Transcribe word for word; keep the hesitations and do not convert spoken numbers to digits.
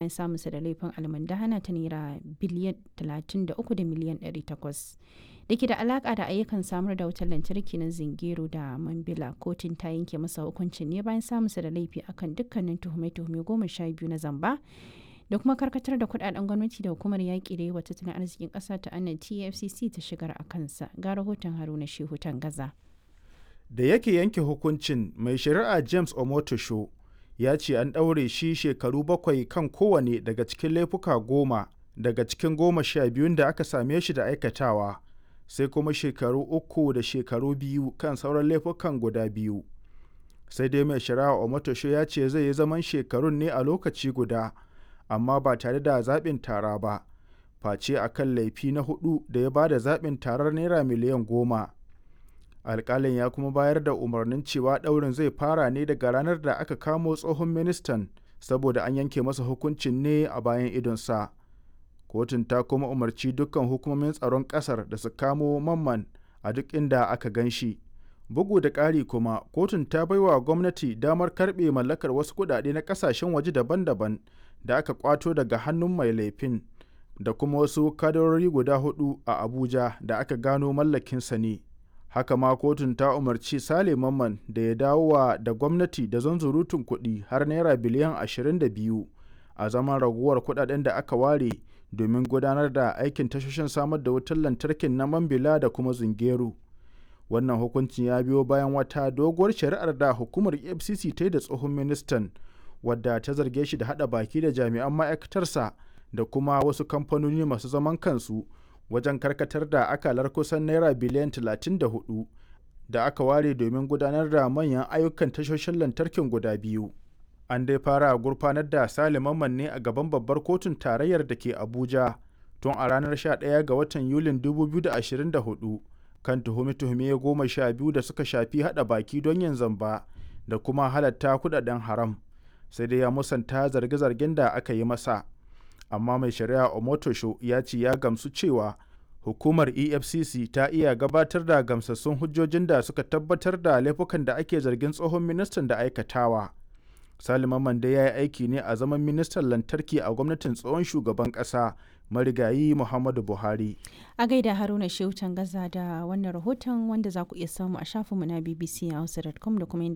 Bayan samunsa da laifin almundahana ta Naira biliyan talatin da uku da miliyan ɗari takwas da ke da alaƙa da ayyukan samar da wutar lantarki na Zungeru da Mambila, kotun ta yanke masa hukuncin ne bayan samunsa da laifi akan dukkanin tuhume-tuhume goma sha biyu na zamba da kuma karkatar da kudaden gwamnati da hukumar yaƙi da yi wa tattalin arzikin ƙasa ta anan T F C C ta shigar a kansa. Ga rahoton Haruna Shehu Gaza. Da yake yanke hukuncin, mai shari'a James Omotosho ya ce an ɗaure shi shekaru bakwai kan kowane daga cikin laifuka goma daga cikin goma sha biyun da aka same shi da aikatawa, sai kuma shekaru uku da shekaru biyu kan sauran laifukan guda biyu. Sai dai mai shari'a Omotosho ya ce zai yi zaman shekarun ne a lokaci guda, amma ba tare da zaɓin tara ba, face a kan laifi na hudu da ya ba da zaɓin tarar naira miliyan goma. Alƙalin ya kuma bayar da umarnin cewa ɗaurin zai fara ne daga ranar da aka kamo tsohon ministan, saboda an yanke masa hukuncin ne a bayan idonsa. Kotun ta kuma umarci dukkan hukumomin tsaron ƙasar da su kamo Mamman a duk inda aka gan shi. Bugu da ƙari kuma, kotun ta baiwa gwamnati damar karɓe mallakar wasu kuɗaɗe na ƙasashen waje daban-daban da aka kwato daga hannun mai laifin, da kuma wasu kadarori guda hudu a Abuja da aka gano mallakinsa ne. Haka ma kotun ta umarci Sale Mamman da ya dawo wa da gwamnati da zunzurutun kuɗi har naira biliyan ashirin da biyu a zaman raguwar kuɗaɗen da aka ware domin gudanar da aikin tashoshin samar da wutar lantarkin na Mambila da kuma Zungeru. Wannan hukuncin ya biyo bayan wata doguwar shari'ar da hukumar E F C C ta yi da tsohon ministan, wadda ta zarge shi da haɗa baki da jami'an ma'aikatarsa da kuma wasu kamfanoni masu zaman kansu wajen karkatar da akalar kusan naira biliyan talatin da huɗu da aka ware domin gudanar da manyan ayyukan tashoshin lantarkin guda biyu. An dai fara gurfanar da Sale Mamman ne a gaban babbar kotun tarayyar da ke Abuja tun a ranar sha ɗaya ga watan Yulin dubu biyu da ashirin da huɗu kan tuhume-tuhume goma sha biyu da suka shafi haɗa baki don yin zamba da kuma halatta kudaden haram. Sai dai ya musanta zarge-zargen da aka yi masa. Amma mai shari'a Omotosho ya ce ya gamsu cewa hukumar E F C C ta iya gabatar da gamsassun hujjojin da suka tabbatar da laifukan da ake zargin tsohon ministan da aikatawa. Salima Mande ya yi aiki ne a zaman ministan lantarki a gwamnatin tsohon shugaban ƙasa marigayi Muhammadu Buhari. A gaida Haruna Shehu Gaza da wannan rahoton, wanda za ku iya samu a shafinmu na B B C Hausa dot com da kuma